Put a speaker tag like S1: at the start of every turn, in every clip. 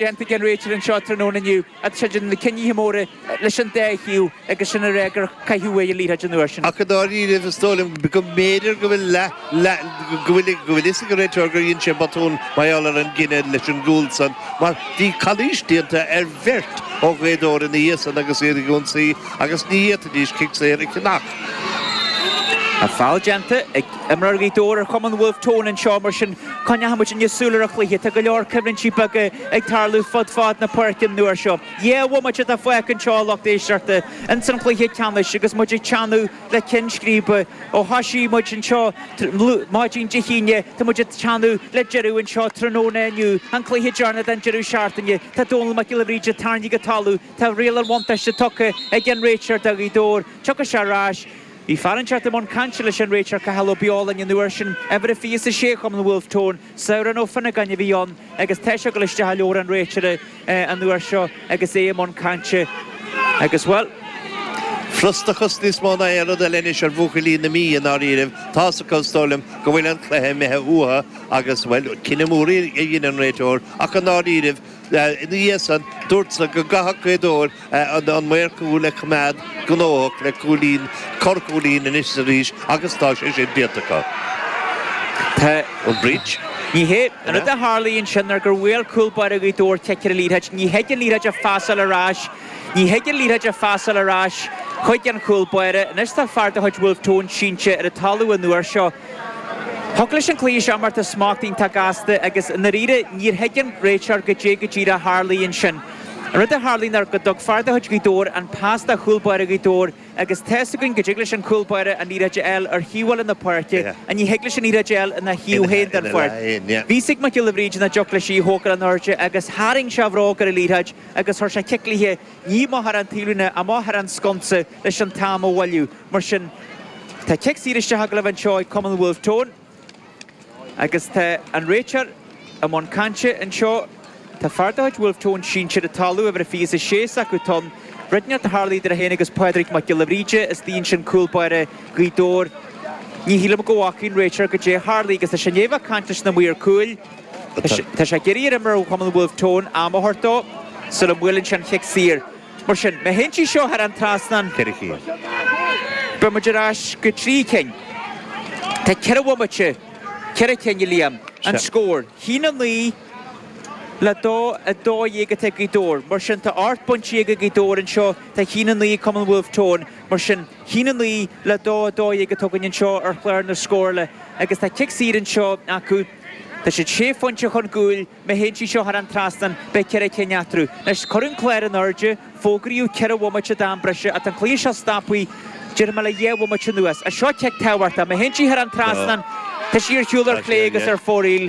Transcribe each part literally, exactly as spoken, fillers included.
S1: Déanta ag an réiteoir anseo tráthnóna inniu tá sé ag déanamh na cinnithe móra leis an dá thaobh agus sin a rá gur caitheadh uaidh an liathróid an uair sin.
S2: Ach i ndáiríribh, is dóigh liom go mb'fhéidir go bhfuil leath, leath, go bhfuil, go bhfuil fhios ag an réiteoir gur dhein sé botún mar gheall ar an gcinneadh leis an gcúl san mar bhí calaois déanta ar bheirt ó Ghaoth Dobhair ina dhiaidh san agus iad ag ionsaí agus ní fhéadfaidís cic saor a cheannach.
S1: Tá feall déanta ag imreoir Ghaoth Dobhair ar Chumann Bhulf Tón anseo, mar sin coinneoidh muid inniu súil ar an chluiche. Tá go leor coimhlintí beaga ag tarlú fud fad na páirce an uair seo. Dhá bhomaite atá fágtha anseo, a lucht éisteachta, ins an chluiche ceannais agus muid ag teannadh le ceann scríbe. Ó thoisigh muid anseo maidin Dé hAoine, tá muid ag teannadh le deireadh anseo tráthnóna inniu, an cluiche deireanach den deireadh seachtaine. Tá Dónal Mac Giolla Bhríde tarraingthe go talamh, tá riail an bhuntáiste tugtha ag an réiteoir do Ghaoth Dobhair. Tiocfaidh sé ar ais. Bhí fear inteacht i mbun cainte leis an réiteoir Cathal Ó Beoláin an uair sin, uimhir a fiche is a sé Chumann Bhulf Tón, Sabhrán Ó Fionnagáin a bhí ann agus tá sé ag dul isteach i leabhar an réiteora an uair seo agus é i mbun cainte agus, bhuel.
S2: Frustrachas níos mó ná aon rud eile anois ar bhuachaillí na Mí i ndáiríribh. Tá's acu, is dóigh liom, go bhfuil an cluiche imithe uathu agus, bhuel, cinneadh mór a dhein an réiteoir ach i ndáiríribh, Ina dhiaidh san, dúrtsa go gcaithfeadh Gaoth Dobhair an maor cúil a choimeád gnóthach le cúilín, corrchúilín anois is arís agus tá sé sin déanta acu.
S1: Tá.
S2: An breach?
S1: Ní hé. An rud a tharlaigh ansin ná gur bhuail cúl báire Ghaoth Dobhair cic ar an liathróid. Ní thig an liathróid a phasáil ar ais. Ní thig an liathróid a phasáil ar ais chuig an chúl báire. Anois tá fear de chuid Bhulf Tón sínte ar an talamh an uair seo. Thiocfadh leis an cluiche seo imeacht i smacht iontach gasta agus i ndáiríre níor thuig an réiteoir goidé go díreach a tharlaigh ansin. An rud a tharlaigh ná go dtug fear de chuid Ghaoth Dobhair an pas do chúl báire Ghaoth Dobhair agus tá's againn go dtig leis an cúl báire an liathróid a fháil ar thaobh eile na páirce ach ní thig leis an liathróid a fháil ina thaobh féin den pháirc. Bhí fhios ag Mac Giolla Bhríde nach dtiocfadh leis í a thógáil in airde agus tharraing sé a bhróg ar an liathróid agus chuir sé cic liath ní amach thar an taobhlíne, amach thar an sconsa leis an t-am a mhoilliú. Mar sin, tá cic saor isteach ag gabháil anseo ag Cumann Bhulf Tón agus tá an réiteoir i mbun cainte anseo. Tá fear de chuid Bhulf Tón sínte ar an talamh, uimhir a fiche is a sé s'acu Tom. Rud inteacht a tharlaigh idir é féin agus Pádraig Mac Giolla Bhríde istigh ansin, cúl báire Ghaoth Dobhair. Ní shílim go bhfaca an réiteoir goidé a tharlaigh agus tá sé i ndiaidh a bheith ag caint leis na maoir cúil. Tá sé ag iarraidh ar imreoir Chumann Bhulf Tón am a thabhairt dó sula mbuaileann sé an chic saor. Mar sin, má théann sí seo thar an trasnán,
S2: Ceithre cinn.
S1: beidh muid ar ais go trí cinn. Tá ceithre bhomaite, ceithre cinn, a Liam, an scór. Haon a naoi le dó a dó dhéag atá ag Gaoth Dobhair. Mar sin, tá ocht bpointe déag ag Gaoth Dobhair anseo, tá haon a naoi ag Cumann Bhulf Tón. Mar sin, haon a naoi le dó a dó dhéag atá againn anseo ar chlár na scórála agus tá cic saor anseo acu. Tá siad sé phointe chun cúil. Má théann sí seo thar an trasnán, beidh ceithre cinn eatarthu. Anois, cuireadh an clár in airde, fógraíodh ceithre bhomaite d'am breise, ach tá an cluiche seo stoptha, déarfaidh mé le dhá bhomaite anuas. Is seo cic tábhachtach. Má théann sí thar an trasnán, tá sí ar shiúl ar chlé agus ar fóraoil.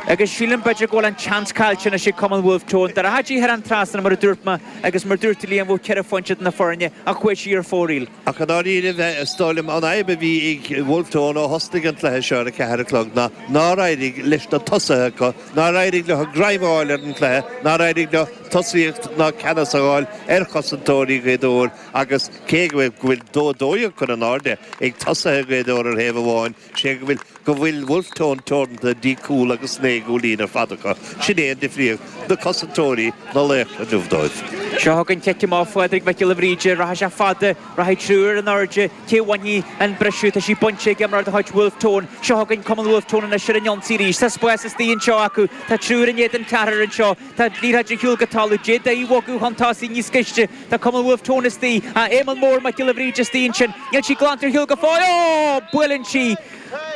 S1: Agus sílim, b'fhéidir, go bhfuil an tseans caillte anois ag Cumann Bhulf Tón. Dá rachadh sí thar an trasnán, mar a dúirt mé, agus mar a dúirt Liam, bheadh ceithre phointe idir na foirne, ach chuaigh sí ar fóraoil.
S2: Ach i ndáiríribh, is dóigh liom, an fhadhb a bhí ag Wolfe Tone ó thosnaigh an cluiche seo ar a ceathair a chlog ná nár éirigh leis na tosaithe acu, nár éirigh leo greim a fháil ar an chluiche, nár éirigh leo tosaíocht ná ceannas a fháil ar chosantóirí Ghaoth Dobhair agus cé go bhfuil dó a dó dhéag curtha in airde ag tosaithe Ghaoth Dobhair ar thaobh amháin, sé go bhfuil go bhfuil Wolfe Tone teoranta dtí cúl agus naoi gcúilín ar fad acu. Sin é an difríocht, na cosantóirí, na laochra inniu dóibh.
S1: Seo chugainn cic amach Phádraig Mhic Giolla Bhríde. Rachaidh sé fada, rachaidh triúr in airde. Cé a bhainfidh an briseadh? Tá sí bainte ag imreoir de chuid Wolfe Tone. Seo chugainn Cumann Wolfe Tone anois ar an ionsaí arís. Tá spás istigh anseo acu. Tá triúr in éadan ceathrair anseo. Tá liathróid ar shiúl go talamh. D'fhéadfaí í a bhogadh chun tosaigh níos gaiste. Tá Cumann Bhulf Tón istigh. Tá Éamonn Mór Mac Giolla Bhríde istigh ansin. Níl sí glanta ar shiúl go fóill. Ó! Buaileann sí!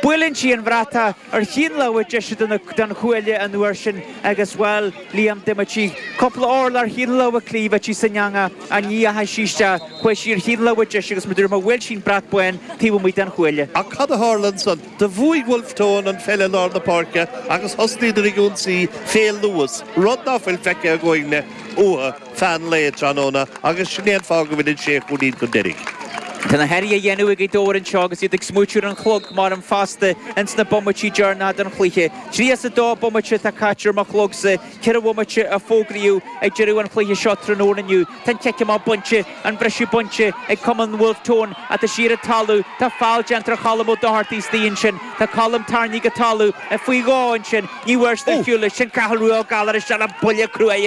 S1: Buaileann sí an bhratach ar thaobh na láimhe deise den chuaille an uair sin agus, bhuel, Liam, d'imigh sí cúpla orlach ar thaobh na láimhe clí, bheadh sí san eangach ach ní dheachaigh sí isteach. Chuaigh sí ar thaobh na láimhe deise agus mar a dúirt mé, bhuail sí an brat bán taobh amuigh den chuaille.
S2: Ach cad a tharla ansan? Do bhuaigh Wolfe Tone an pheil i lár na páirce agus thosnaíodar ag ionsaí fé luas, rud ná fuil feicthe againne uathu feadh an lae tráthnóna agus sin é an fáth go bhfuil an sé chúilín chun deiridh.
S1: Tá na hathruithe á dhéanamh ag Gaoth Dobhair anseo agus iad ag smaoitiú ar an chlog mar an fosta ins na bomaití deireanacha den chluiche. Tríocha is a dó bomaite atá caite ar mo chlogsa, ceithre bhomaite a fógraíodh ag deireadh an chluiche seo tráthnóna inniu. Tá an cic amach bainte, an briseadh bainte ag Cumann Bhulf Tón ach tá siar ar an talamh. Tá feall déanta ar Cholm Ó Dochartaigh istigh ansin. Tá Colm tarraingthe go talamh faoi dhó ansin. Ní bhfuair siad ar shiúl leis. Sin Cathal Rua Ó Gallchóir isteach le buille cruaidh.